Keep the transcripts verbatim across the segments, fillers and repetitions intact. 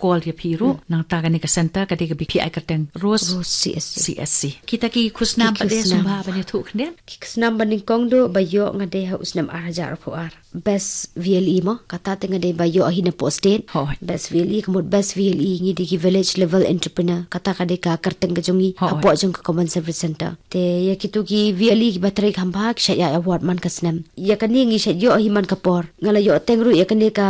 call ïa phi ruh, nangta kane ka center ka dei kaba phi ai kyrteng Rose, Rose C S C. C S C. Kita ki khusnam pat de sngewbha ban ïathuh khyndiat. Ki khusnam ba nyngkong duh ba ïoh nga dei ha u snem ar hajar arphew ar. Best V L E mo, kata te nga dei ba ïoh hi napoh state. Hooid. Best V L E, ka mut best V L E ngi dei ki village level entrepreneur. Kata ka dei ka kyrteng ka jong ngi, hooid, hapoh jong ka Common Service Center. Te ïa kito ki V L E kiba trei kham bha ki shait ïa award man ka snem. Ïa kane ngi shait ïoh hi man ka por. Nga la ïoh teng ruh ïa kane ka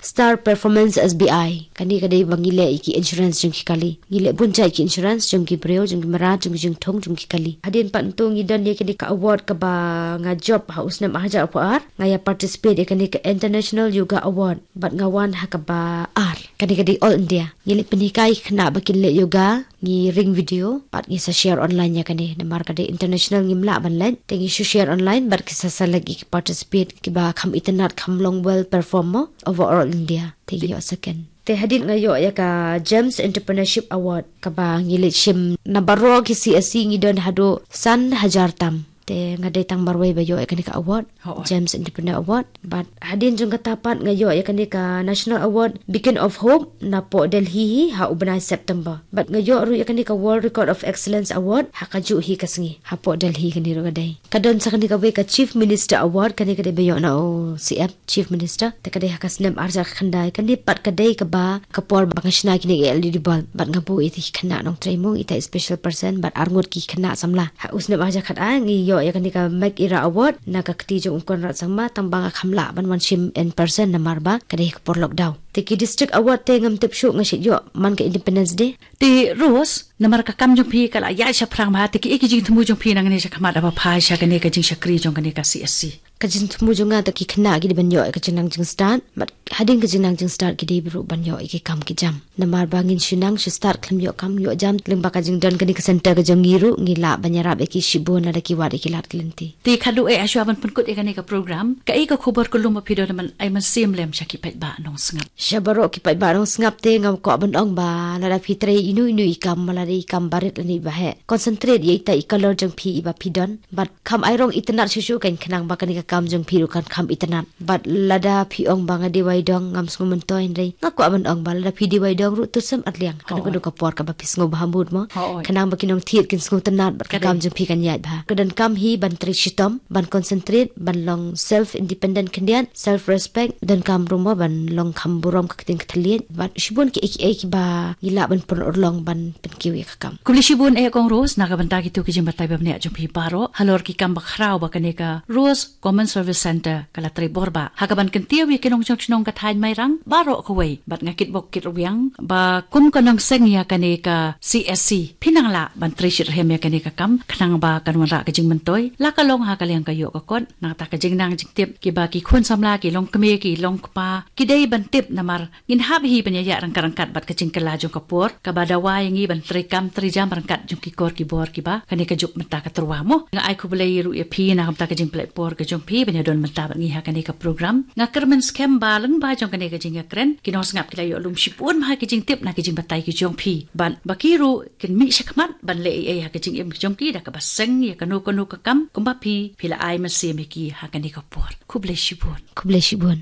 Star Performance S B I. Kane ka dei ba ngi leh ïa ki insurance jong ki kali. Ngi leh bun jait ki insurance jong ki briew, jong ki mrad, jong ki jingthung, jong ki kali. Hadien pat to ngi don ïa kane ka award kaba nga jop ha u snem ar hajar arphew ar. Nga ïa participate ïa kane ka International Yoga Award. Bad nga wan ha kaba ar. Kane ka dei All India. Ngi leh pynhikai khynnah ba kin leh yoga, ngi ring video, bad ngi sa share online ïa kane. Namar ka dei international ngim lah ban leh. Te ngi shu share online, bad ki sa select ïa ki participant kiba kham itynnad, kham long well perform mo, overall India. Te ngi ïoh second. Te hadien nga ïoh ïa ka Gems Entrepreneurship Award, kaba ngi leit shim na baroh ki C S C ngi don haduh san hajar tam. Te nga dei tang marwei ba ïoh ïa kane ka award. Hooid. Gems Entrepreneur Award. Bad hadien jong kata pat nga ïoh ïa kane ka National Award Beacon of Hope napoh Delhi hi ha u bnai September. Bad nga ïoh ruh ïa kane ka World Record of Excellence Award ha kajuh hi ka sngi hapoh Delhi, kane ruh ka dei. Ka don sa kane kawei ka Chief Minister Award, kane ka dei ba ïoh na u C M, Chief Minister. Te ka dei ha ka snem ar hajar khyndai, kane pat ka dei kaba ka por ba nga shna kine ki L E D bulb, bad nga buh ïa ki khynnah nongtrei mo, ita i special person, bad arngut ki khynnah samla. Ha u snem ar hajar khatar ngi ïoh ïa kane ka Make Era Award na ka kti jong u Conrad Sangma, tang ba nga kham lah ban wan shim in person namar ba ka dei ka por lockdown. Te ki District Award te ngam tip shuh, nga shait ïoh man ka Independence Day. Te Rose, namar ka kam jong phi ka la ïaid shaphrang bha, te kiei ki jingthmu jong phi nangne shakhmat haba phai sha kane ka jingshakri jong kane ka C S C? Ka jingthmu jong nga te ki khynnah ki dei ban ïoh ïa ka jingnang jingstad, bad hadien ka jingnang jingstad ki dei ruh ban ïoh ïa ki kam ki jam. Namar ba ngin shu nang shu stad khlem ïoh kam ïoh jam, lyngba ka jingdon kane ka center ka jong ngi ruh ngi lah ban ïarap ïa ki shibun lada ki wad ïa ki lad ki lynti. Te khadduh eh shuwa ban pynkut ïa kane ka program, kaei ka khubor kylluid ba phi don ban ai mynsiem lem sha ki paidbah nongsngap? Sha baroh ki paidbah nongsngap te nga kwah ban ong ba lada phi trei ino ino i kam, lada i kam barit lane i baheh, concentrate ïa ita i color jong phi iba phi don. Bad kham ai rong itynnad shuh shuh kan, khnang ba kane ka kam jong phi ruh kan kham itynnad. Bad lada phi ong ba nga dei wai dong, ngam sngew myntoi, hynrei nga kwah ban ong ba lada phi dei wai dong ruh to sem arliang. Kano kano ka por kaba phi sngew bha mood mo. Hooid. Khnang ba ki nongthied kin sngewtynnad bad ka kam jong phi kan ïaid bha. Ka donkam hi ban trei shitom, ban concentrate, ban long self independent khyndiat, self respect, donkam ruh mo ban long kham burom ka ktien ka thylliej, bad shibun kiei kiei kiba ngi lah ban pynurlong ban pynkiew ïa ka kam. Khublei shibun eh Kong Rose na ka bynta kito ki jingbatai ba bniah jong phi baroh halor ki kam bakhraw ba kane ka Rose Common Service Center ka la trei bor bha ha kaban kyntiew ïa ki nongshong shnong ka thaiñ Mairang baroh kawei, bad nga kitbok kitrwiang ba kum ka nongseng ïa kane ka C S C phi nang lah ban trei shitrhem ïa kane ka kam khnang ba kan wanrah ka jingmyntoi, la ka long ha ka liang ka ïoh ka kot. Nangta ka jingnang jingtip kiba ki khun samla, ki longkmie, ki longkpa ki dei ban tip, namar ngin hap hi ban ïaïah ryngkat ryngkat bad ka jingkylla jong ka por kaba dawa ïa ngi ban trei kam trei jam ryngkat jong ki kor ki bor kiba kane ka juk mynta ka tyrwa mo. Nga ai khublei ruh ïa phi na ka bynta ka jingpynleit por ka jong phi ban ïadon mynta bad ngi ha kane ka program. Nga kyrmen skhem ba lyngba jong kane ka jingïakren ki nongsngap ki la ïoh lum shibun ha ki jingtip na ki jingbatai ki jong phi, bad ba ki ruh kin mih shakhmat ban leh ei ei ha ka jingim ka jong ki da kaba seng ïa kano kano ka kam kumba phi phi la ai mynsiem ïa ki ha kane ka por. Khublei shibun. Khublei shibun.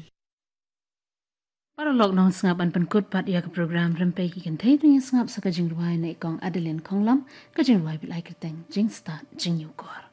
Paralok nongsngap, ban pynkut pat ïa ka program Rympei ki Kynthei, to ngin sngap sa ka jingrwai na i Kong Adeline Khonglam, ka jingrwai ba la ai kyrteng Jingstad Jingñiewkor.